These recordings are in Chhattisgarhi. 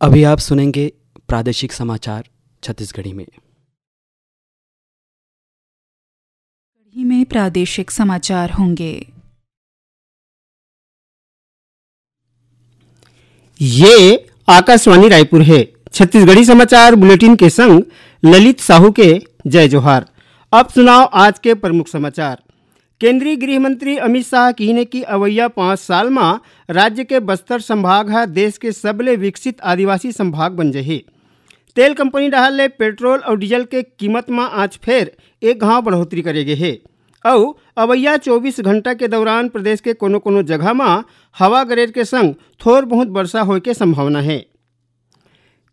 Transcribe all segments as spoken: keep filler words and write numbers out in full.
अभी आप सुनेंगे प्रादेशिक समाचार छत्तीसगढ़ी में। छत्तीसगढ़ी में प्रादेशिक समाचार होंगे। ये आकाशवाणी रायपुर है। छत्तीसगढ़ी समाचार बुलेटिन के संग ललित साहू के जय जोहार। अब सुनाव आज के प्रमुख समाचार। केंद्रीय गृह मंत्री अमित शाह किहिने कि अवइया पाँच साल म राज्य के बस्तर संभाग ह देश के सबले विकसित आदिवासी संभाग बन जही। तेल कंपनी डहार ले पेट्रोल अउ डीजल के कीमत म आज फेर एक घांव बढ़ोतरी करे गे हे अउ अवइया चौबीस घंटा के दौरान प्रदेश के कोनो-कोनो जगह म हवा गरेर के संग थोर बहुत वर्षा होय के संभावना हे।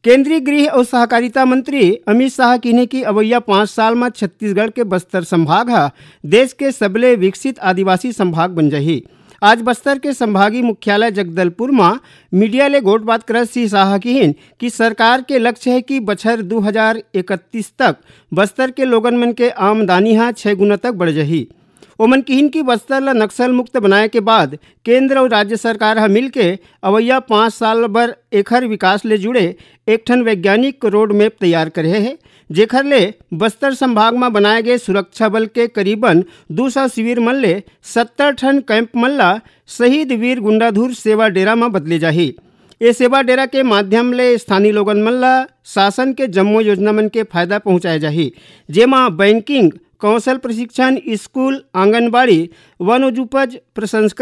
केंद्रीय गृह अउ सहकारिता मंत्री अमित शाह किहिने कि अवइया पाँच साल म छत्तीसगढ़ के बस्तर संभाग ह देश के सबले विकसित आदिवासी संभाग बन जही। आज बस्तर के संभागीय मुख्यालय जगदलपुर म मीडिया ले गोठबात करत श्री शाह किहिन कि सरकार के लक्ष्य हे कि बछर दू हजार इकतीस तक बस्तर के लोगन मन के आमदनी ह छह गुना तक बढ़ जही। ओमन किहिन कि बस्तर ल नक्सल मुक्त बनाए के बाद केंद्र अउ राज्य सरकार ह मिलके अवइया पाँच साल बर एखर विकास ले जुड़े एक ठन वैज्ञानिक रोड मैप तैयार करे हे, जेखर ले बस्तर संभाग म बनाए गे सुरक्षा बल के करीबन दू सौ शिविर मन ले सत्तर ठन कैंप मन ल शहीद वीर गुंडाधुर सेवा डेरा म बदले जाही। ए सेवा डेरा के माध्यम ले स्थानीय लोगन मन ल शासन के जम्मो योजना मन के फायदा पहुंचाए जाही, जेमा बैंकिंग, कौशल प्रशिक्षण, स्कूल, आंगनबाड़ी, वनोपज प्रसंस्करण,